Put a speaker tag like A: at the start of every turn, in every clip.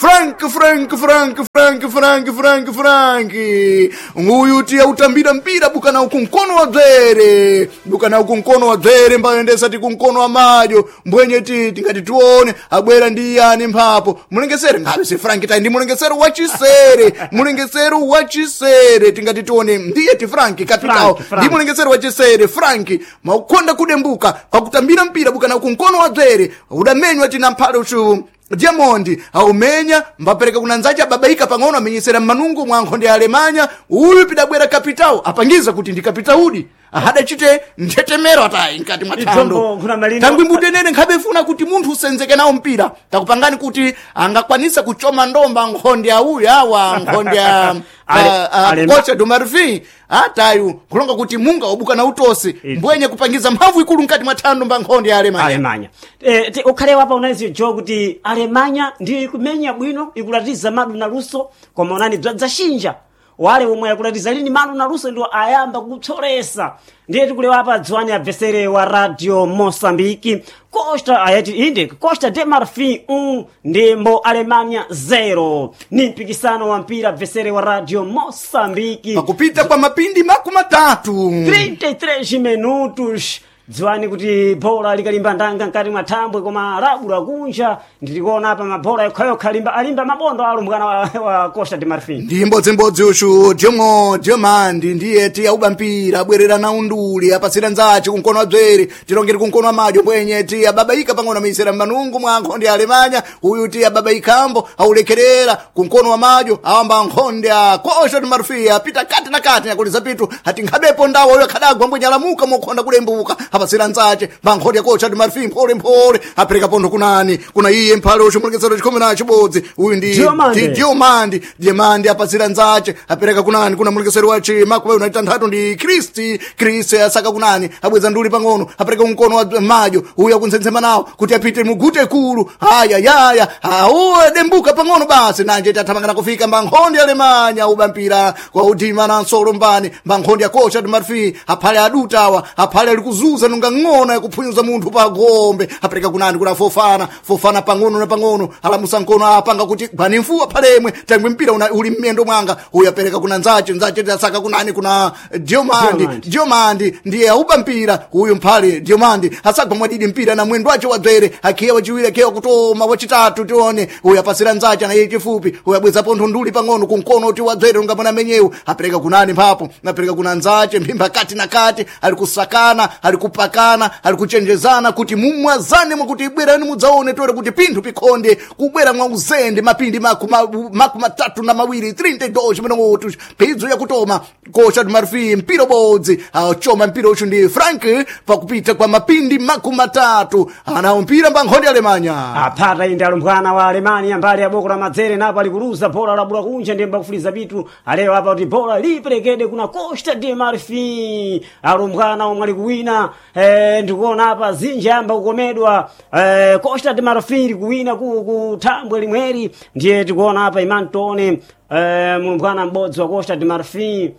A: Frank, Frank, Frank, Frank, Frank, Frank, Frank. Uyu tiya utambira mpira bukana uku mkono wa dzere, bukana uku mkono wa dzere mbayendesa ti kumkono wa madyo mbwenye ti tingati tione abwera ndi yani mphapo mulengesere ngabe si Frank tayi ndi mulengesero wachisere, mulengesero wachisere tingati tione ndiye ti Frank kapitao
B: Frank, Frank.
A: ndi mulengesero wachisere Frank maukonda kudembuka pakutambira mpira bukana uku mkono wa dzere udamenywa tina mphale uchu Diamond aumenya mbapereka kuna nzache ababaika pang'ono amenyesera mmanungu mwa nkhonde ya Alemanya. Uyu pidabwera kapitao apangiza kuti ndi kapitaudi ahadachite nthetemero atayi mkati mwa thando.
B: Idzombo kuna malino.
A: Tangwi mbutenene nkhabe funa kuti munthu usenzeke nawo mpira takupangani kuti angakwanisa kuchoma ndomba nkhonde ya uyu awa nkhonde ya kocha Domarfi atayu kulonga kuti munga wabuka na utosi mbwenye kupangiza mphamvu ikulu mkati mwa thando mba nkhonde ya Alemanya.
B: Alemanya ukhale wapa unaiziyo jo kuti Alemanya ndiyo ikumenya bwino, ikulatiza madu na luso, koma unani bzadzaxinja wale omwe akulatiza lini madu na luso ndiwo ayamba kutsolesa. Ndiye tikulewa apa dziwani abvesere wa Radio Mosambiki Costa ayati inde Costa de Marfin 1 ndimbo Alemanya 0 ni mpikisano wa mpira abvesere wa Radio Mosambiki
A: Pakupita kwa mapindi 30.
B: 33 minutos. Dziwani kuti bhola likalimba ndanga mkati mwa thambwe koma labula kunja. Ndilikuona apa mabhola yokhayokha alimba, alimba mabondo alumbwana wa Costa de Marfin.
A: Ndi mbodzimbodzi uchu Diomo Diomandi ndiye ti auba mpira abwerera na unduli apasira nzache kumkono wa dzere tilongere kumkono wa madyo mbwenye ti ababaika pang'ono ameyisera mmanungu mwa nkhonde ya Alemanya. Uyu ti ababaikambo aulekerera kumkono wa madyo awamba nkhonde ya Costa de Marfin apita kati na kati nakuliza pitu ati nkhabepo ndawo uyo akhadagwa mbwenye alamuka mokhonda kulembuka apasira nzache mba nkhonde ya Costa de Marfin mphole mphole apereka pontho kunani kuna iye mphale uchu mulekesero chikhumi na chibodzi uyu ndi
B: Diomande.
A: ndi Diomandi Diomandi apasira nzache apereka kunani kuna mulekesero wa chima kuba unaita nthatu ndi Kristi Kristi asaka kunani abweza nduli pang'ono apereka mkono wa madyo uyu akuntsensema nawo kuti apite mugute kulu haya yaya auwe dembuka pang'ono basi nanje tathamangana kufika mba nkhonde ya Alemanya uba mpira kwa udima na nsolo mbani mba nkhonde ya Costa de Marfin aphale adutawa aphale ali kuzuza nunga ng'ona yakuphunyuza munthu pa gombe apereka kunani kuna Fofana Fofana pang'ono na pang'ono alamusa mkono apanga kuti gwani mfuwa phalemwe tangwe mpira uli mmiyendo mwanga uyu apereka kuna nzache nzache tasaka kunani kuna Diomandi.
B: Diomandi.
A: Diomandi ndiye auba mpira uyu mphale Diomandi asagwa mwadidi mpira na mwendo wache wadzere akhiya wachiwiri akhiya kutoma wachitatu tione uyu apasira nzache na iye chifupi uyu abweza pontho nduli pang'ono kumkono uti wadzere ungamona menyewu apereka kunani mphapo apereka kuna nzache mphimba kati na kati ali kusakana ali kupakana ali kuchenjezana kuti mumwazane mwakuti bwerani mudzaone tore kuti pinthu pikhonde kubwera mwa uzende mapindi 32 32 minutos phidzo yakutoma Costa de Marfin mpira bodzi achoma mpira uchu ndi Frank pakupita kwa mapindi 30 anawo mpira mba nkhonde ya Alemanya.
B: Aphata inde alumbwana wa Alemania mbali ya boko la madzere napo alikuluza bhola labula kunja ndiye mbakufuliza pitu alewa apa kuti bhola liperekedwe kuna Costa de Marfin alumbwana omwe alikuwina ndikuona apa zinji amba kukomedwa Costa de Marfin likuwina ku thambwe limweri. Ndiye tikuona apa Imantone mulumbwana m'bodzi wa Costa de Marfin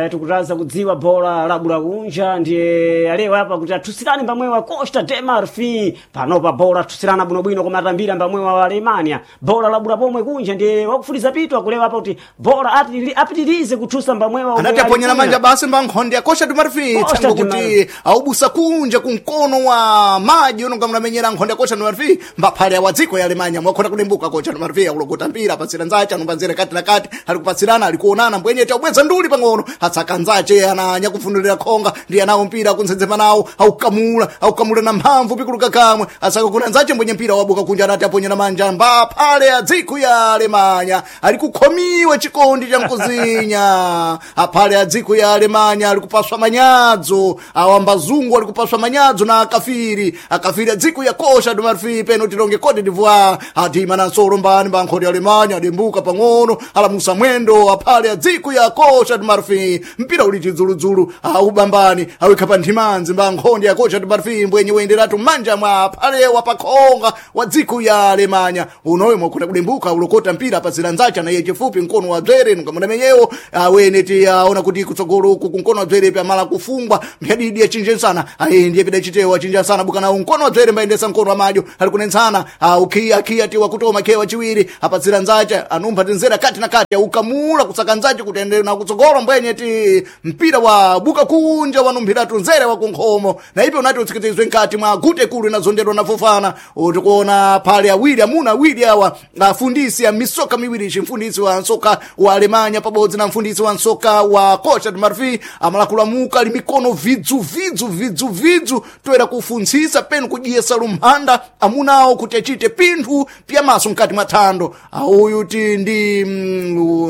B: tikutaza kudziwa bhola labula kunja ndiye alewa apa kuti athusirane mbamwewa wa Costa de Marfin panopa bhola athusirana bwinobwino koma atambira mbamwewa wa Alemania bhola labula pomwe kunja ndiye wakufuliza pitu akulewa apa kuti bhola apitirize kuthusa mbamwewa omwe
A: anati aponyera
B: ali
A: manja basi mba nkhonde ya Costa de Marfin
B: Costa
A: tsango
B: de
A: kuti aubusa kunja kumkono wa maji unonga munamenyera nkhonde ya Costa de Marfin mbaphale awa dziko ya Alemanya mwakhona kulembuka Costa de Marfin akulokota mpira apasira nzache anumbanzira kati na kati ali kupasirana ali kuonana mbwenye taubweza nduli pang'ono atsaka nzache ananya kufunulira khonga ndiye anawo mpira akuntsensema nawo aukamula aukamula na mphamvu pikuluka kamwe asaka kuna nzache mbwenye mpira wabuka kunja anati aponyera manja mbaphale a dziko ya Alemanya ali kukhomiwa chikondi cha mkuzinya aphale a dziko ya Alemanya ali kupaswa manyadzo awambazungu ali kupaswa manyadzo na akafiri akafiri a dziko ya Costa de Marfin peno tilonge Cote d'Ivoire adima na nsolo mbani mba nkhonde ya Alemanya adembuka pang'ono alamusa mwendo aphale a dziko ya Costa de Marfin. ti mpira uli chidzuludzulu aubambani awikha pa nthimanzi mba nkhondi ya kocha timarfi mbwenye wenderatu mmanja mwa phalewa pakhonga wa dziko ya Alemanya unoyo mwakhona kudembuka ulokota mpira pazira nzacha na iye chifupi mkono wa bzere nungamuna menyewo awene ti aona kuti kutsogolo uku kumkono wa bzere pamala kufungwa mphadidi achinje sana ayi ndiye pida chitewo achinja sana bukana mkono wa bzere mbayendesa mkono wa madyo ali kunensana ukhiya khiya ti wakutoma khewa chiwiri apatsira nzacha anumpha tinzera kati na kati aukamula kusaka nzacha kuti ende na kutsogolo mbwenye ti mpira wa buka kunja wanumphiratu nzere wa kunkhomo na ipo unati utsikitizwe nkati mwa gute kulu inazondedwa na fofana utikuona pale awiri amuna awiri awa afundisi ya misoka miwiri chimfundisi wa nsoka wa Alemanya pabodzi na mfundisi wa nsoka wa kocha Marfi amalakulamuka ali mikono vidzu vidzu vidzu vidzu toera kufunzisa penu kujiyesa lumphanda amunawo kuti achite pinthu pyamaso mkati mwa thando uyu ti ndi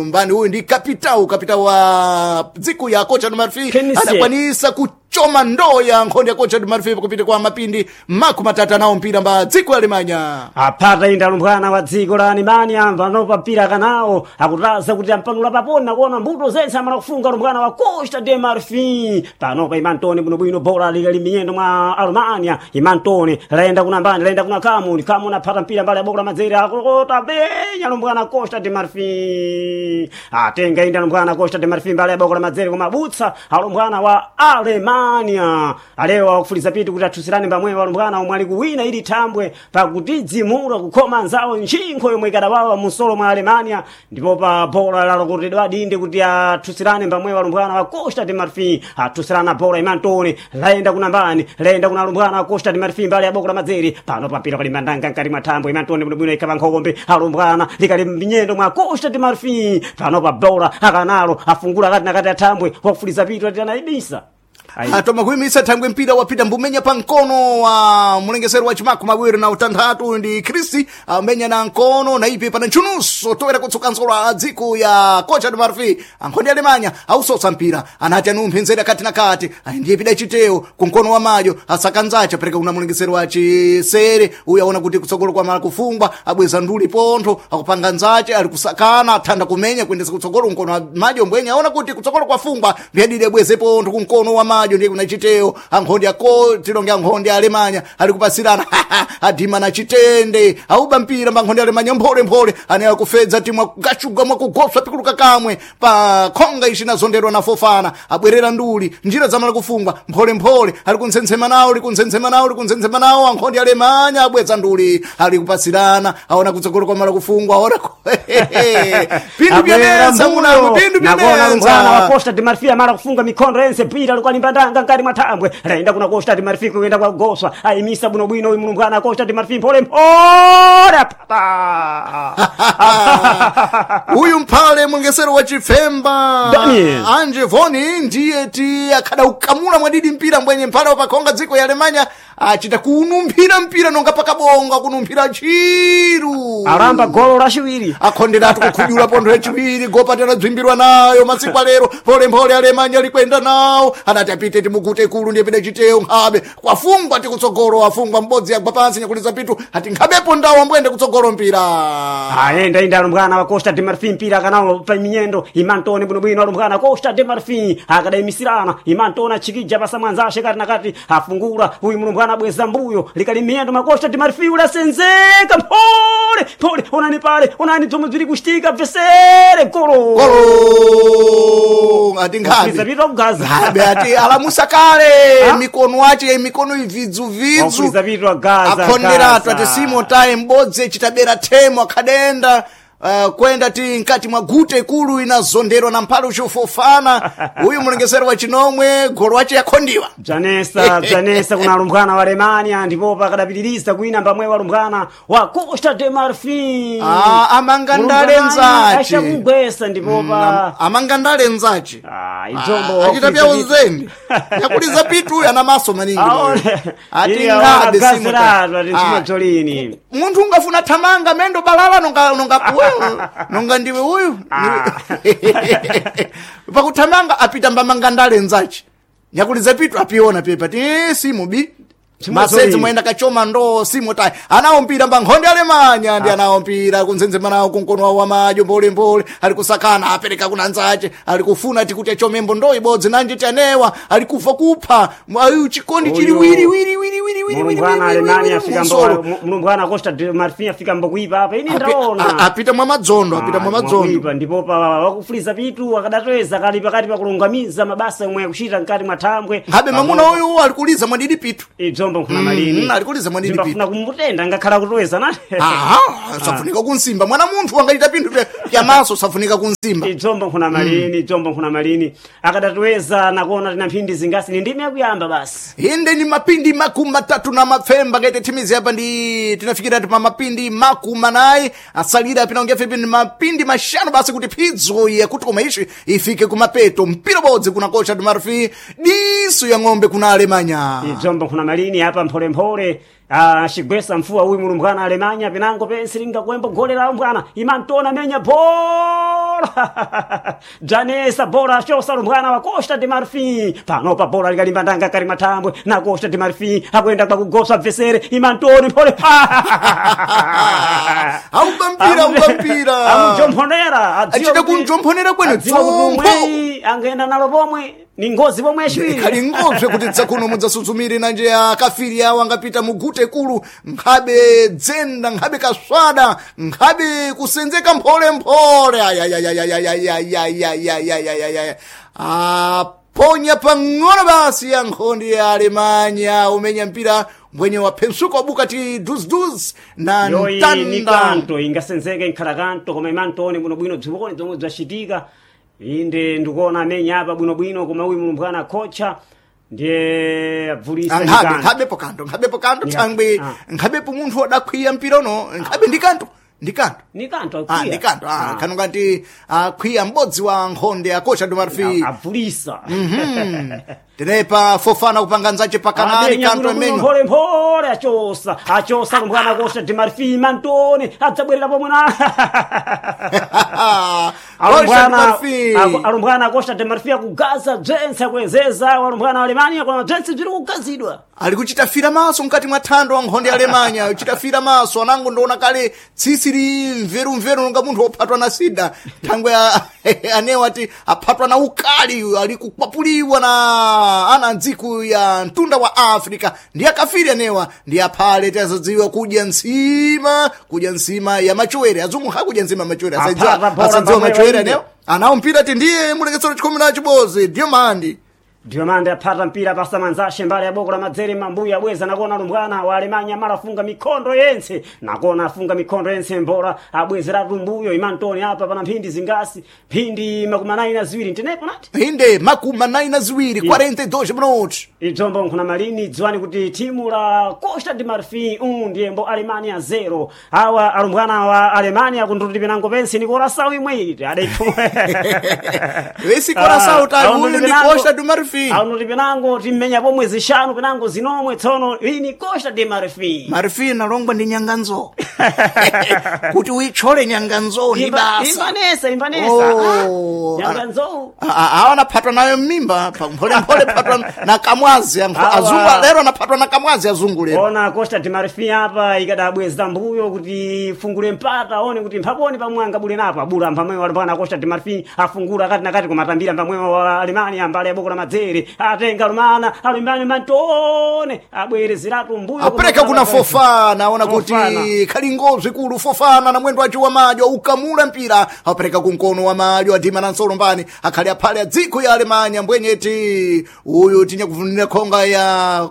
A: mbani uyu ndi kapitau wa dziko ya kocha Marfi
B: Kenisia.
A: adakwanisa kuchoma ndoo ya nkhondo ya kocha Marfi kupita kwa mapindi 30 nawo mpira mba dziko ya Alemanya.
B: Aphata inda alumbwana wa dziko la Alemanya panopa mpira kanawo akutaza kuti ampanula papona kuona mbuto zense amala kufunga alumbwana wa Costa de Marfin panopa imantone bwinobwino bola likali minyendo mwa Alemanya imantone layenda kuna mbani layenda kuna Kamuni Kamuni aphata mpira mbali ya boko la madzere akulokota benya alumbwana Costa de Marfin atenga inda alumbwana Costa de Marfin mbali ya boko la madzere kumabutsa alumbwana wa Alemanya alewa akufuliza pitu kuti athusirane pamwepo alumbwana omwe ali kuwina ili thambwe pakutidzimura kukhoma anzawo ntchinkho yomwe ikadawawa musolo mwa Alemanya ndipo pa bola lalokotedwa dinde kuti athusirane pamwepo alumbwana wa Costa de Marfin athusirana bola imantone layenda kuna mbani layenda kuna alumbwana wa Costa de Marfin mbali ya boko la madzere pano papira pali mandanga nkati mwa thambwe imantone bwinobwino ikhala nkhombe alumbwana likali mnyendo mwa Costa de Marfin pano pa bola akanalo afungula kati nakati athambwe wakufuliza pitu ati anayibisa Ayi.
A: Atoma kuyimisa thangwe mpira wapita mbumenya pa mkono wa mulengesero wa chimaku mawiri na utanthatu ndi Kristi amenya na mkono na ipi pana ntchunuso toera kutsuka ntsolo a dziko ya kocha de Marfi ankhondi Alemanya ausotsa mpira anati anumphe nzera kati na kati ayi ndiye pida chitewo ku mkono wa madyo asaka nzacha pereka kuna mulengesero wa chisere uyu aona kuti kutsogolo kwa mala kufungwa abweza nduli pontho akupanga nzache ali kusakana athanda kumenya kuyendesa kutsogolo mkono wa madyo mbwenye aona kuti kutsogolo kwafungwa mphiyadidi abweze pontho kumkono wa madyo ndiye kuna chitewo ankhondi ako tilonge ankhondi a Alemanya ali kupasirana adima na chitende auba mpira mba nkhondi a Alemanya mpholemphole ane akufedza timwa kugachuga mwakugoswa pikuluka kamwe pa khonga ichi inazondedwa na fofana abwerera nduli njira zamala kufungwa mpholemphole ali kuntsensema nawo likuntsensema nawo likuntsensema nawo ankhondi a Alemanya abweza nduli ali kupasirana aona kutsogolo kwa mala kufungwa aona pindu byanetsa munango pindu
B: Nakuona lumbwana wa
A: byanetsa
B: Costa de Marfil amala kufunga mikhondo yense mpira alikuwa limbandanga nkati mwa thambwe layenda kuna Costa de Marfil kuyenda kwa Goswa ayimisa bwinobwino uyu mlumbwana wa Costa de Marfil mphole mphole apata
A: uyu mphale mwengesero wa chifemba
B: Daniel.
A: anje voni ndiye ti akhada ukamula mwadidi mpira mbwenye mphale wapakhonga dziko ya Alemanya achita kunumphira mpira nonga pakabonga kunumphira chiru
B: alamba golo lachiwiri
A: akhonderatu kukhudula pontho yachiwiri gopatana bzimbirwa nayo masiku alero polemphole alemanya likwenda nawo anati apite timugute kulu ndiye pide chiteyo nkhabe kwafungwa tikutsogolo afungwa mbodzi yagwa pansi nyakuliza pitu ati nkhabepo ndawo ambwende kutsogolo mpira
B: ayenda inda alumbwana wa Costa de Marfin mpira akanawo pa minyendo imantone bwinobwino alumbwana Costa de Marfin akadayimisirana imantone achikija pasa mwanzashe kati na kati afungula uyu mlumbwana abweza mbuyo likali miyendo ma Costa de Marfin ulasenzeka mphole mphole onani pale onani bzomwe bziri kuchitika bvesere golo
A: golo ati nkhabe
B: Zapita kugaza
A: nkhabe ati alamusa kale
B: Ha?
A: mikono ache mikono ividzuvidzu
B: Wakuliza vitu agaza
A: akhonderatu
B: gaza.
A: ati simo taye mbodzi chitabera themo akhadenda kwenda ti nkati mwa gute ikulu inazonderwa na mphale uchifofana uyu mulengesero wa chinomwe golo wache yakhondiwa
B: bzanesa bzanesa kuna alumbwana wa Alemania ndipo pakadapitiriza kuina mbamwe wa alumbwana wa Costa de Marfin
A: Ah, amanga ndale nzace.
B: achakugwesa ndipo pa
A: amanga ndale nzace
B: Ah, idzombo
A: achita pya uzembe yakuliza pitu uyu ana maso maningi
B: Aone.
A: moyo. Ati
B: Iye aona
A: nkhabe simo
B: gazeratu, ati
A: taye. Ah,
B: nsimadzolini
A: munthu ungafuna thamanga mendo balala nonga nonga uyu nonga ndiwe uyu pakuthamanga apita mbamanga ndale nzace nyakuliza pitu apiona pepa ti simu bi Masedzi mwenda kachoma ndo simo tayi anawo mpira mba nkhonde Alemanya ndi anawo mpira kunzenzema nawo kunkono wawo wamadyo mbolembole ali kusakana apereka kuna nzache ali kufuna tikuti achomembo ndo ibodzi nanje tanewa ali kufa kupha ayu chikondi chili wiri wiri wiri wiri wiri wiri
B: Mulumbwana
A: wiri,
B: Alemania
A: wiri,
B: afika
A: msoro.
B: mbo mulumbwana Costa de Marfin afika mbo kuipa apa ine ndaona.
A: Apita mwa madzondo, apita mwa madzondo.
B: Mwakuipa, ndipo pa wakufuliza pitu akadatweza kali pakati pa kulungamiza mabasa omwe akuchita mkati mwa thambwe.
A: Nkhabe mamuna uyu alikuliza mwadidi pitu.
B: Idzombo nkhuna malini.
A: Alikuliza mwadidi pitu.
B: Zimbafuna kumutenda ngakhala kutweza na.
A: Aha, safunika kunsimba mwana munthu angaita pinthu pyamaso safunika kunsimba.
B: Idzombo nkhuna malini, idzombo nkhuna malini. Akadatweza nakuona tina mphindi zingasi ni ndime yakuyamba basi.
A: Inde ni mapindi 37 ngaite thimizi apa ndi tinafikira ti pa mapindi 40 asalira pinaongea fipi ni mapindi 5 basi kuti phidzo yakuti koma ishi ifike kumapeto mpira bodzi kuna kocha de Marfin diso ya ng'ombe kuna Alemanya.
B: Idzombo nkhuna malini apa mpholemphole. Xigwesa mfuwa uyu mulumbwana Alemanya pinango pensi lingakuembo gole la mbwana imantona menya bola Janesa bola chosa lumbwana wa Costa de Marfin panopa bola likalimba ndanga kali mathambwe na Costa de Marfin akuyenda kwakugosa bvesere imantoni mphole.
A: Auba mpira, auba mpira.
B: Amujomphonerera
A: Achita kunjomphonera kwene dzombo.
B: Angenda nalo pomwe ni ngozi pomwe yaciwiri.
A: Khali ngobze kuti dzakuno mudzasuzumire nanje akafiri awo angapita mugute kulu nkhabe dzenda nkhabe kaswada nkhabe kusenzeka mpholemphole ayayayayayayayayayayayayaya aponya pang'ono basi ya nkhondi ya Alemanya umenya mpira mbwenye waphensuka wabuka ti duziduz na
B: Yoyi ni
A: mtanda.
B: kanto ingasenzeke nkhala kanto koma imantone bwinobwino bzipone zomwe bzacitika inde ndikuona amenya apa bwinobwino koma uyu mulumbwana kocha ndiye abvulisa ni
A: Nkhabe
B: kanto.
A: nkhabepo kanto, nkhabepo kanto
B: Ni
A: thangwe
B: ah.
A: nkhabepo munthu wadakhwiya mpira uno nkhabe ndi kanto, ndi kanto.
B: Ni kanto
A: Ah,
B: akwiya.
A: ndi kanto. Ah, khanu ngati akhwiya m'bodzi wa nkhonde akocha do Marfin.
B: Abvulisa.
A: Tenepa Fofana kupanga nzache pakanali
B: Amenya
A: kanto
B: bwinobwino
A: amenya.
B: mpholemphole achosa achosa lumbwana Costa de Marfin mantone adzabwerera pomwe na
A: Costa de Marfin.
B: Alumbwana Costa de Marfin akugaza bzentse akuyezeza alumbwana wa Alemania koma bzentse bziri kugazidwa.
A: Ali kuchita fira maso mkati mwa thando wa nkhonde ya Alemanya, kuchita fira maso anango ndoona kale tsitsi li mverumveru nonga munthu wophatwa na sida. Thangwe anewo ati aphatwa na ukali ali kukwapuliwa na ana ndziku ya mtunda wa Afrika. Ndi akafiri anewa ndi aphale tazadziwa kudya nsima, kudya nsima ya machwere. Azungu hakudya nsima ya machwere,
B: Aphata bora
A: asadziwa
B: pamwe
A: machwere
B: wainde.
A: anewa. Anawo mpira ti ndiye muleketsero chikhumi na chibodzi, ndiyo mandi.
B: Diomande aphata mpira pasamanzashe mbali ya boko la madzere mambuya abweza nakona lumbwana wa Alemanya mala afunga mikhondo yense nakona afunga mikhondo yense mbola abwezeratu mbuyo imantoni apa pana mphindi zingasi mphindi 42 ntenepo nati.
A: Inde 42, 42 minutos.
B: Idzombo nkhuna malini dziwani kuti timu la Costa de Marfin 1 ndiyembo Alemania 0 awa alumbwana wa Alemania kunduti pinango pensi ni Curaçao imwe iti adaiphumwe.
A: Vesi Curaçao ta uyu ndi Costa de Marfin.
B: Aunuti pinango timmenya pomwe zishanu pinango zinomwe tsono ini Costa de Marfin.
A: Marfin nalongwa ndi nyanganzo. Kuti uitchole nyanganzo ni basa.
B: Imbanesa imbanesa.
A: Oh,
B: Nyanganzo.
A: Awa anaphatwa nayo mmimba mpholemphole phatwa na kamwazi
B: Awa.
A: azungu lero anaphatwa na kamwazi azungu lero.
B: Ona Costa de Marfin apa ikadabweza mbuyo kuti ifungule mpata one kuti mphaponi pamwe angabule napo abula mpamwe walipana Costa de Marfin afungula kati na kati kumatambira mpamwe wa Alemania mbali ya boko la madzere atenga lumana alumbani mantone abwerezeratu mbuyo
A: Apereka kuna Fofana aona kuti
B: Fofana.
A: khali ngozwi kulu Fofana na mwendo wace wa madyo ukamula mpira apereka kunkono wa madyo adima na nsolo mbani akhali aphale adziko ya Alemanya mbwenyeti uyu tinyakuvunira khonga ya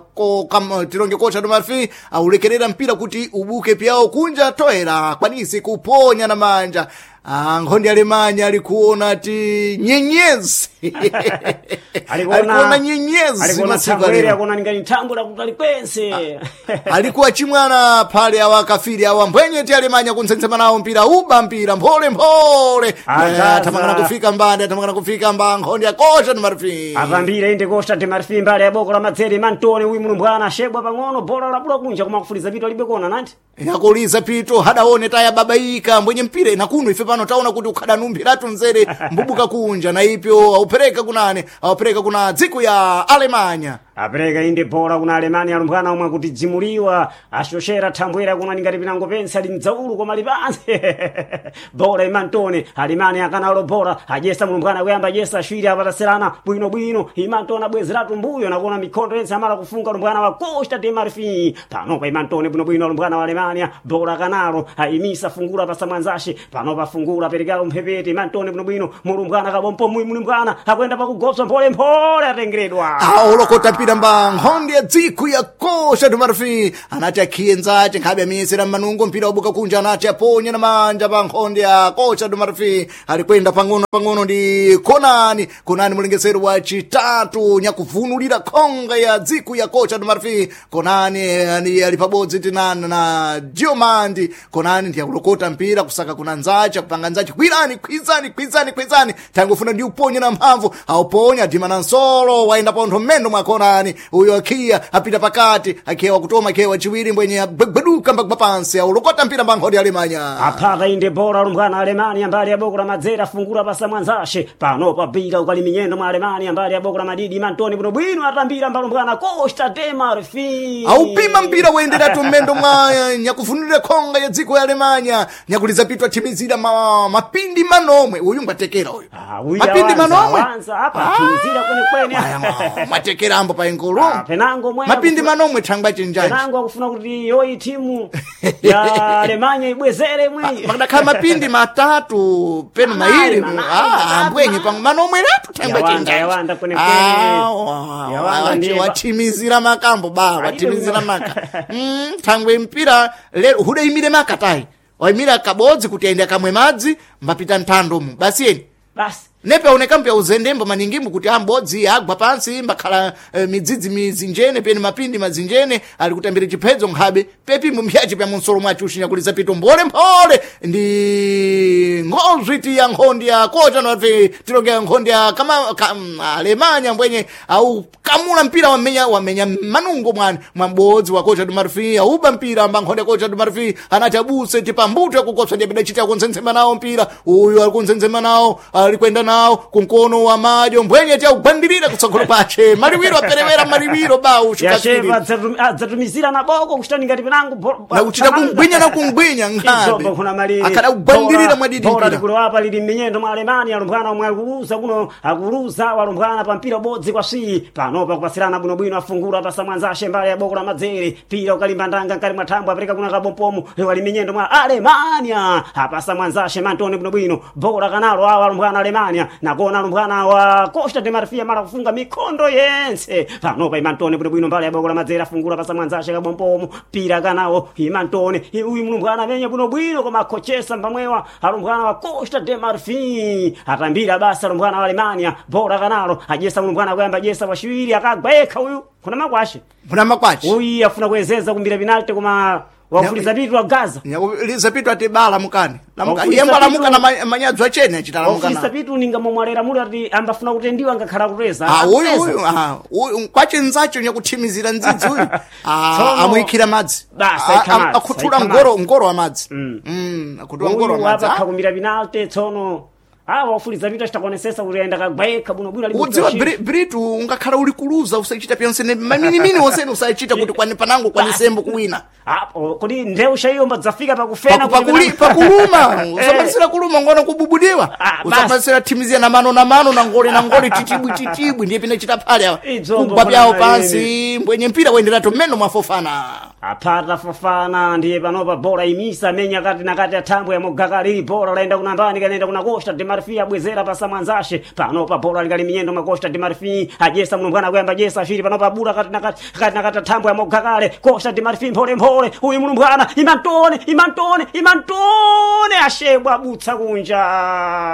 A: tilonge kocha do Marfin aulekerera mpira kuti ubuke pyawo kunja toera akwanise kuponya na manja. Ah, nkhondi Alemanya alikuona ti nyenyezi alikuona nyenyezi
B: alikuona
A: masiku
B: thangwere
A: alero
B: akuona ningani thambo lakuti kwense
A: alikuwa chimwana phale awa kafiri awa mbwenye ti Alemanya kuntsensema nawo mpira uba mpira mphole mphole.
B: Azaza.
A: Athamangana kufika mbande athamangana kufika mba nkhondi ya Costa de Marfin.
B: Apambira inde Costa de Marfin mbali ya boko la madzere mantone uyu mulumbwana ashebwa pang'ono bola labula kunja koma kufuliza pito alibe kona nanti.
A: Yakuliza pito hadaone taya babaika mbwenye mpira inakuno ife pano taona kuti ukhadanumbiratu nzere mbubuka kunja na ipyo aupereka kunane aupereka kuna dziko ya Alemanya.
B: Apereka inde bora kuna Alemania alumbwana omwe kuti dzimuliwa ashoshera thambwera kuna ningati pinango pense ali mdzaulu koma lipanse bora imantone Alemania akanalo bora ajesa mulumbwana kuyamba ajesa ashwiri apataserana bwinobwino imantone abwezeratu mbuyo nakuona mikhondo yense amala kufunga alumbwana wa Costa de Marfin panopa imantone bwinobwino alumbwana wa Alemania bora kanalo ayimisa fungula pasamwanzashe panopa fungula aperekalo mphepete imantone bwinobwino mulumbwana kabompo mwi mulumbwana akuyenda pakugopsa mpholemphole atengeredwa.
A: Aolokota mpira mba nkhondo ya dziko ya Costa do Marfim anati akhiye nzace nkhabe amiyesera mmanungo mpira wabuka kunja anati aponye na manja pa nkhondo ya Costa do Marfim alikwenda pang'ono pang'ono ndi Konani. Konani mulengesero wa chitatu nyakuvunulira khonga ya dziko ya Costa do Marfim. Konani ali pabodzi tinana na Diomandi. Konani ndiye akulokota mpira kusaka kuna nzace kupanga nzace kwirani kwizani kwizani kwizani tangofuna ndi uponye na mphamvu auponya dima na nsolo waenda pontho mmendo mwa Konani uyo akhiya apita pakati akhiya wakutoma akhiya wachiwiri mbwenye agwegweduka mbagwa pansi aulokota mpira mbankhodi alemanya.
B: Aphata inde bora alumbwana Alemania mbali ya boko la madzera fungula pasa mwanzashe panopa bira ukali minyendo mwa Alemania mbali ya boko la madidi mantoni bwinobwino atambira mbalumbwana Costa de Marfin
A: Aupima mpira waenderatu mmendo mwa nyakufunira khonga ya dziko ya Alemanya nyakuliza pitwa thimizira mapindi manomwe uyu ngwatekera uyu.
B: Ah, uyu
A: mapindi
B: awanza,
A: manomwe.
B: awanza, apa athimizira kwenekwene.
A: Aya, mwatekera ambo pa ingolo.
B: Ah, penango mwe
A: mapindi manomwe thangwa chinjanji
B: penango akufuna kuti yoyi timu ya Alemania ibwezere mwe
A: makadakhala mapindi matatu peno
B: Manayi,
A: mairi
B: manayi,
A: ah,
B: matatu,
A: ambwenye pamwe manomwe ratu thangwa
B: Yawanda,
A: chinjanji
B: yawanda kwenekwene. Yawanda ndiye
A: wathimizira makambo ba wathimizira maka. Thangwe mpira lero hudaimire maka tayi waimira kabodzi kuti aende akamwe madzi mbapita nthandomu basi eni
B: basi
A: nepe aoneka mpya uzendembo maningimbo kuti ambodzi agwa pansi mbakhala midzidzi mizinjene pene mapindi mazinjene ali kutambira chiphedzo nkhabe pepimbo mpyace pya munsolo mwace ushinyakuliza pito mphole mphole ndi ngozwiti ya nkhondi ya kocha nati tilongea nkhondi ya kama Alemanya mbwenye au kamula mpira wamenya wamenya manungo mwana mwambodzi wa kocha do Marfim auba mpira amba nkhondi ya kocha do Marfim anati abuse tipambuto yakukopsa ndiye pidachita kunsensema nawo mpira uyu ali kunsensema nawo ali kwenda nawo kunkono wa madyo mbwenye tiaugwandirira kutsogolo pache maliwiro aperewera maliwiro ba
B: yashepa
A: ushukasiri
B: adzatumizira na boko kuchitani ngati penango
A: na kuchita kungwinya na kungwinya nkhabe
B: Izombo kuna malire
A: akada kugwandirira mwadidi
B: bora
A: mpira
B: likulo apa lili m'minyendo mwa Alemania alumbwana omwe akuluza kuno akuluza walumbwana pa mpira ubodzi kwa swi panopa kupasirana bwinobwino afungula pasa mwanzashe mbali ya boko la madzere pira ukalimba ndanga nkali mwa thambwe apereka kuna kabompomo wali minyendo mwa Alemania apasa mwanzashe mantoni bwinobwino bora kanalo awa alumbwana Alemania nakona alumbwana wa Costa de Marfil mara kufunga mikondo yense panopa imantoni bwinobwino mbali ya boko la madzere afungula pasa mwanzashe kabompomo pira kanawo imantoni uyu mlumbwana amenye bwinobwino koma akochesa mpamwewa alumbwana wa Costa de Marfil atambira basa alumbwana wa Alemania bora kanalo ajesa mlumbwana kuyamba jesa wachiwiri akagwa yekha uyu kuna makwashe
A: muna makwachi
B: uyu afuna kuwezeza kumbira penalty koma wafuliza pitu wa Gaza
A: nyakuliza pitu ati bala mukani lamuka
B: Wakuliza
A: yembo alamuka
B: pitu-
A: na manyadzo achene achita
B: wafuliza
A: lamuka
B: pitu ninga momwalera muli ati ambafuna kutendiwa ngakhala kuteza
A: Ah, uyu
B: Akuteza.
A: uyu ah, uyu kwachenzacho nyakuthimizira ndzidzi uyu. Ah,
B: Tsono-
A: amuyikira madzi.
B: Basi,
A: Ah,
B: ayikha
A: ah,
B: madzi,
A: akhuthula
B: ayikha
A: ngoro ngoro wa madzi. Akhuthula ngoro wa
B: uyu
A: madzi.
B: apa
A: Ah,
B: khakumbira penalty tsono awa wafuliza pitu achitakuonesesa kuti ayenda kagwa yekha bwinobwino ali
A: Udziwa
B: mutu
A: Britu ungakhala uli kuluza usachita pyonsene maminimini wonsene usachita kuti kwani panango kwanisembo kuwina.
B: Apo, kodi ndewu shaiyo mbadzafika pakufena
A: Pakuluma usapasira kuluma ngono kububudiwa
B: Ah, basi.
A: usapasira thimizia na mano na mano na ngole na ngole titibwi titibwi ndiye pine chita phale awa
B: Idzombo
A: kugwa pyawo
B: kuna
A: pansi mbwenye mpira wenderatu mmeno mwafofana.
B: Apata fofana ndiye panopa bora imisa menya kati na kati athambwe yamugaka lili bora laenda kuna mbani kanaenda kuna Costa de Marfil abwezera pasa mwanzashe panopa bora likali minyendo mwa Costa de Marfil ajesa mlumbwana kuyamba jesa ashiri panopa bura kati na kati kati na kati athambwe yamugakale Costa de Marfil mphole mphole uyu mlumbwana imantone imantone imantone ashebwa abutsa kunja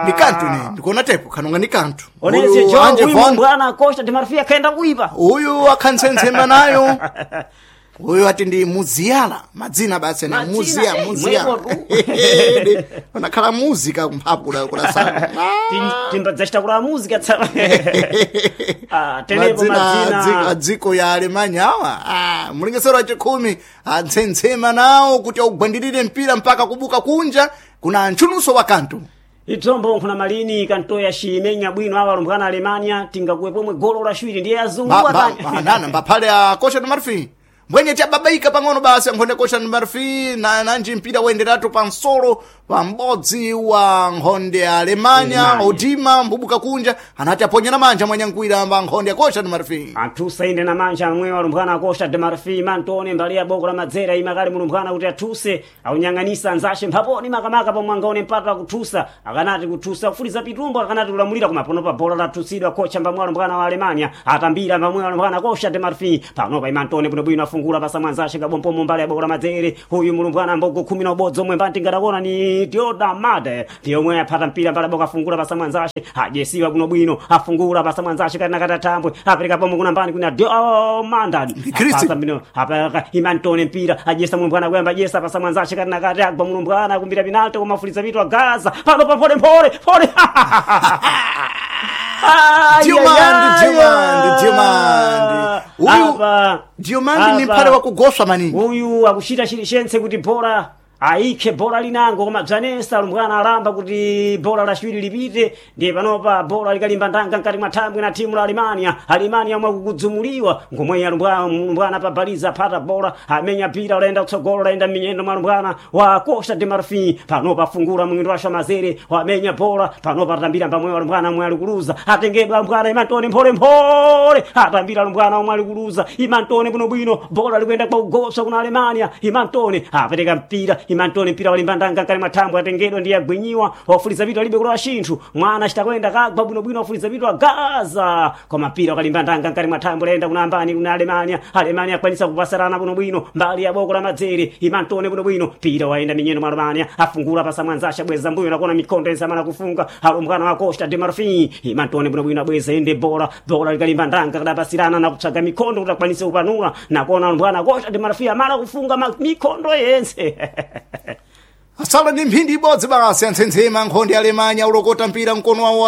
A: Ni kantu ne ndikuona tepo kanonga ni kantu.
B: onese
A: Uyu
B: jo
A: Anje
B: uyu
A: Von
B: mlumbwana Costa de Marfil akaenda kuipa
A: uyu akhansensema nayo uyu ati ndi muziyala madzina basi ene
B: Madzina,
A: muziya muziya
B: mwepo tu.
A: unakhala muzika kumphapu kula sana.
B: Timbadzachita kula muzika tsa Ah, tenepo
A: madzina
B: madzina
A: adziko ya Alemanya awa mulingesero wa chikhumi atsensema nawo kuti augwandirire mpira mpaka kubuka kunja kuna ntchuluso wa kantu.
B: Idzombo nkhuna malini kantoya ximenya bwino awa alumbwana Alemania tingakuwe pomwe golo la xwiri ndiye azungu atani.
A: Nana mbaphale a Costa do Marfim mbwenye tiababaika pang'ono basi ankhonde Costa do Marfim na nanji mpira woyenderatu pansolo pa m'bodzi wa nkhonde ya Alemanya.
B: Alemanya.
A: Odima mbubuka kunja anati aponyera manja mwanyankwira mba nkhonde ya Costa do Marfim.
B: Athuse inde na manja amwe alumbwana a Costa de Marfim Antone mbali ya boko la madzera imakali mulumbwana kuti athuse aunyang'anisa anzashe mphaponi makamaka pomwe angaone mpata akuthusa akanati kuthusa kufuliza pitumbo akanati kulamulira koma panopa bola lathusidwa kocha mbamwe alumbwana wa Alemania atambira mbamwe alumbwana Costa de Marfim panopa ima Antone bwinobwino afungula pasa mwanzashe kabompomo mbali ya boko la madzere huyu mulumbwana mbogo 11 omwe mbanti ngadakuona ni Dioda Made ndiyomwe aphata mpira mbali boka afungula pasa mwanzashe ajesiwa bwinobwino afungula pasa mwanzashe kati nakati atambwe apereka pomwe kuna mbani kuna Diomanda
A: Christi.
B: Apasa mbino apa imantone mpira ajesa mulumbwana kuyamba ajesa pasa mwanzashe kati nakati agwa mulumbwana kumbira penalty koma afuliza vitu agaza pano pa pole pole pole. Ai,
A: Diomandi,
B: ai, ai,
A: Diomandi,
B: ai.
A: Diomandi. Uyu
B: Apa,
A: Diomandi ni
B: apa.
A: mphale wakugoswa maningi.
B: Uyu akuchita chilichentse kuti bora aikhe bora linango koma bzanesa alumbwana alamba kuti bora la ciwiri lipite ndiye panopa bora likalimba ndanga mkati mwa thambwe na timu la Alemania. Alemania omwe akukudzumuliwa ngomwe alumbwana mlumbwana pabaliza aphata bora amenya pira ulaenda kutsogolo ulaenda minyendo mwa alumbwana wa Costa de Marfim panopa afungula mwindo wa Shamazere wamenya bora panopa atambira mbamwe alumbwana omwe alikuluza atengedwa alumbwana imantone mphole mphole atambira alumbwana omwe alikuluza imantone bwinobwino bora likuyenda kwa ugoswa kuna Alemania imantone apereka mpira imantone mpira walimba ndanga kale mathambwe atengedwa ndiye agwinyiwa wafuliza vitu alibe kulowa xinthu mwana citakwenda kagwa bwinobwino wafuliza vitu agaza koma mpira wakalimba ndanga nkali mathambwe layenda kuna ambani kuna Alemania. Alemania akwanisa kupasarana bwinobwino mbali ya boko la madzere imantone bwinobwino mpira waenda minyendo mwa Alemania afungula pasa mwanzasha bweza mbuyo nakona mikondo ensamana kufunga alumbwana wa Costa de Marfim imantone bwinobwino abweza ende bora bora likalimba ndanga kadapasirana na kupsaga mikondo kuti akwanise kupanula nakona alumbwana Costa de Marfim amala kufunga mikondo yense.
A: Asala ndi mphindi ibodzi basi antsentsema nkhonde ya Alemanya ulokota mpira mkono wawo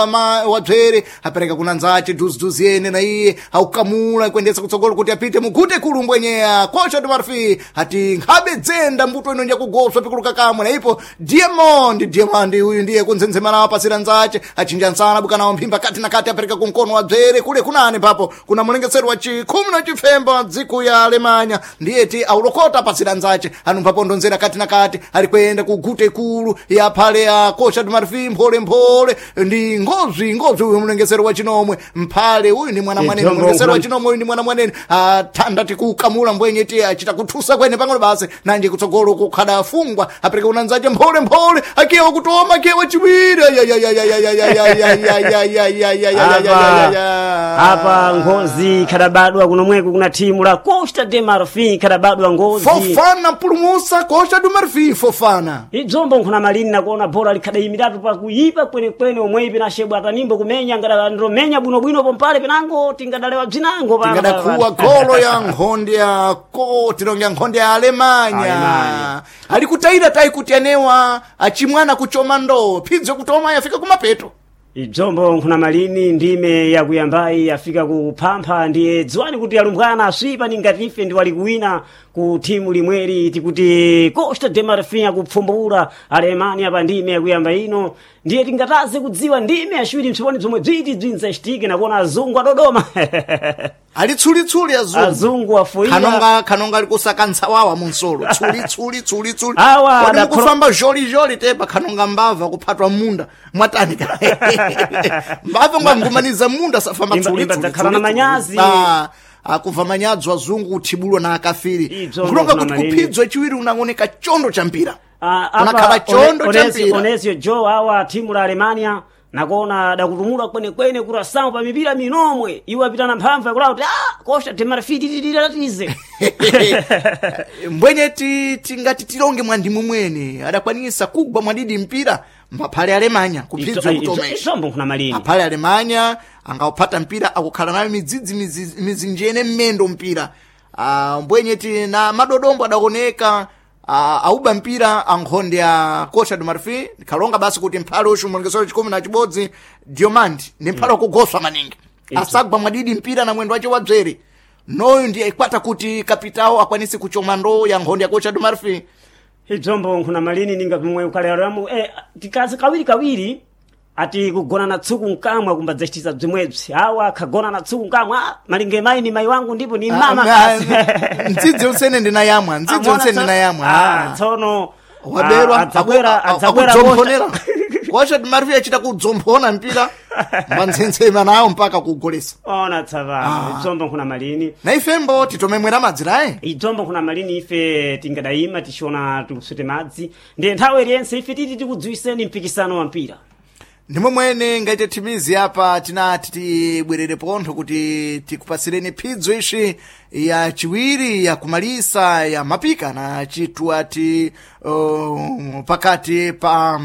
A: wa bzere apereka kuna nzace duziduzi yene na iye aukamula kuendesa kutsogolo kuti apite mugute kulu mbwenyeya Costa do Marfim ati nkhabe dzenda mbuto ino njakugoswa pikuluka kamwe na ipo Diamond Diamond uyu ndiye kuntsensema nawo apasira nzace achinja nsana buka nawo mphimba kati na kati apereka kumkono wa bzere kule kunani papo kuna mulengesero wa chikhumi na chifemba wa dziko ya Alemanya ndiye ti aulokota apasira nzace anumpha ndonzera kati na kati ali kuyenda ku gute ikulu ya phale ya Costa do Marfim mphole mphole ndi ngozi ngozi uyu mlengesero wa chinomwe mphale uyu ndi mwana mwanene
B: Idzombo
A: mlengesero wa
B: nkuna-
A: chinomwe uyu ndi mwana mwanene athanda tikukamula mbwenye ti achita kuthusa kwene pang'ono basi nanje kutsogolo kukhada afungwa apereka unanzace mphole mphole akiyewa kutoma akiyewa chiwiri
B: Apa ngozi khadabadwa kunomweko kuna timu la Costa de Marfim khadabadwa ngozi.
A: Fofana mpulumusa Costa do Marfim Fofana
B: Idzombo nkhuna malini nakuona bora likhadayimiratu pakuyipa kwenekwene omwe pinashebwa atanimbo kumenya ngadalomenya bwinobwino pompale pinango tingadalewa bzinango pano.
A: tingadakuwa golo ya nkhonde ya ko tilonge nkhonde ya Alemanya
B: Alemanya.
A: ali kutayira tayi kuti anewa achimwana kuchoma ndoo phidzo kutoma yafika kumapeto.
B: Idzombo nkhuna malini ndime yakuyambayi yafika kuphampha ndiye dziwani kuti alumbwana aswipa ningati ife ndi wali kuwina ku thimu limweri tikuti Costa de Marfim akupfumbula Alemania pa ndime yakuyamba ino ndiye tingataze kudziwa ndime yaciwiri mtsiponi bzomwe bziti bzinzachitike nakuona azungu adodoma.
A: Ali tsulitsuli azungu
B: Azungu afuira
A: khanonga khanonga ali kusaka ntsawawa munsolo tsuli tsuli tsuli tsuli
B: Awa,
A: kodi
B: adakholo-
A: mukufamba zholi zholi tepa khanonga mbava kuphatwa munda mwatani ka mbava ngwangumaniza munda safamba tsuli
B: Imba
A: tsuli
B: dzakhala
A: tsuli,
B: na
A: tsuli.
B: manyazi.
A: Ah, akuva manyadzo azungu kuthibulwa na akafiri
B: Idzo
A: nkulonga
B: ndofuna
A: kuti
B: manini.
A: kuphidzwa chiwiri unaoneka chondo cha mpira
B: Ah, apa
A: unakhala chondo cha mpira
B: Onesio Joe awa timu la Alemania nakuona dakutumula kwenekwene kurasamu pa mipira minomwe iwo apitana mphamvu yakulawa kuti ah, Costa de Marfim tititiratize.
A: Mbwenye tingati tilonge mwandimu mwene adakwanisa kugwa mwadidi mpira mbaphale Alemanya kuphidzwa kutomesha
B: Idzombo nkhuna malini
A: aphale Alemanya angaupata mpira akukhala nayo midzidzi mizinjene mmendo mpira. Mbwenye ti na madodombo adaoneka auba mpira ankhonde ya Costa do Marfim kalonga basi kuti mphale uxu mulengesero chikumi na chibodzi Diomandi ni mphale wakugoswa maningi asagwa mwadidi mpira na mwendo wace wa dzere noyu ndiye ikwata kuti kapitao akwanise kuchoma ndoo ya nkhonde ya Costa do Marfim.
B: Idzombo nkhuna malini ninga pomwe ukaleramu tikazi kawiri kawiri. Ati kugona na tsuku nkamwa kumbadzachitiza bzimwebzi awa akhagona na tsuku nkamwa, malinge mayi ni mayi wangu ndipo ni mama kasi.
A: Ndzidzi unsene ndinayamwa, ndzidzi
B: Amona
A: unsene ndinayamwa.
B: Tsono
A: Waberwa
B: adzabwera adzabwera
A: akudzomphonera Costa de Marfil achita kudzomphona mpira mbanzenzema nawo mpaka kugolesa.
B: Ona tsavano idzombo nkhuna malini.
A: Na ifembo titomemwera madzirayi.
B: Idzombo nkhuna malini, ife tingadayima tichiona tikusute madzi, ndiye nthawi iliyentse ife titi tikudziwiseni mpikisano wa mpira.
A: Ndimo mwene ngaite thimizi apa tinati tibwerere pontho kuti tikupasireni phidzo ixi ya chiwiri ya kumalisa ya mapika na chitu ati pakati pa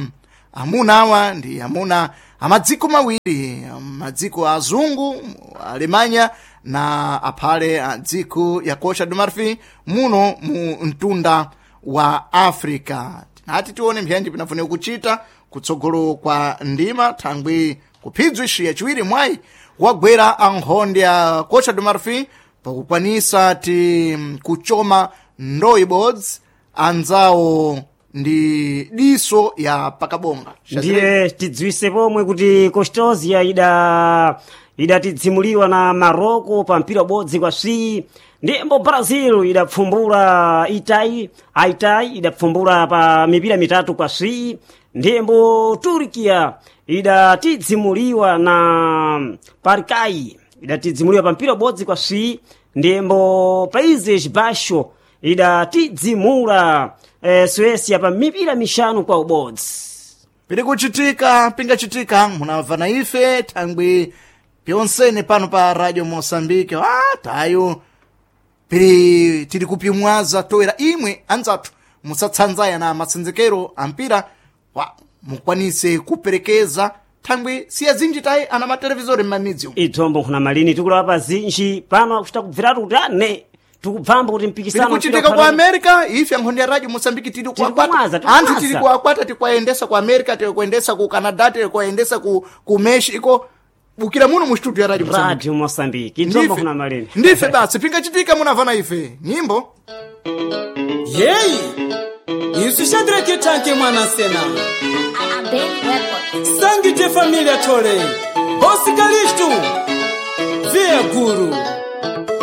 A: amuna awa ndi amuna amadziko mawiri, madziko azungu Alemanya na aphale a dziko ya Costa do Marfil muno mu mtunda wa Africa. Tinati tione mbyanji pinafunika kuchita kutsogolo kwa ndima thangwi kuphidzwa ixi yachiwiri mwayi wagwera ankhonde ya Costa do Marfil pakukwanisa ti kuchoma ndoyi bodzi anzawo ndi diso ya pakabonga.
B: Ndiye tidziwise pomwe kuti Costosia idatidzimuliwa na Marocco pa mpira ubodzi kwa swi, ndiyembo Brazil idapfumbula Itai Aitai idapfumbula pa mipira 3 kwa swi, ndiyembo Turkiya idatidzimuliwa na Paraguay idatidzimuliwa pa mpira ubodzi kwa swi, ndiyembo Países Baixos idatidzimula Suécia pa mipira 5 kwa ubodzi.
A: Piri kuchitika pingachitika munamva na ife thangwi pyonsene pano pa Radio Moçambique. Tayo piri tiri kupimwaza toera imwe anzathu musatsanzaya na matsenzekero ampira wa mukwanise kuperekeza thangwi siya zinji tayi ana matelevisori m'mamidzi umu.
B: Idzombo nkhuna malini tikulapa pa zinji pano akuchita kubviratu kuti ane tikubvamba kuti
A: Piri
B: mpikisano
A: kuchitika ku America ife ankhonde ya Radio Moçambique tiri kuakwata
B: kumwaza, tiri
A: anthu
B: kumwaza.
A: tiri kuakwata tikuayendesa ku America, tiri kuendesa ku Canada, tiri kuendesa ku Mexico bukira muno mu studio ya Radio Moçambique.
B: Radio Moçambique idzombo nkhuna malini.
A: Ndife basi pingachitika munavana ife nyimbo.
C: Yeyi, isu Shadrake tanke mwana sena. Sangite familia tole. Bosi Kalistu. Via guru.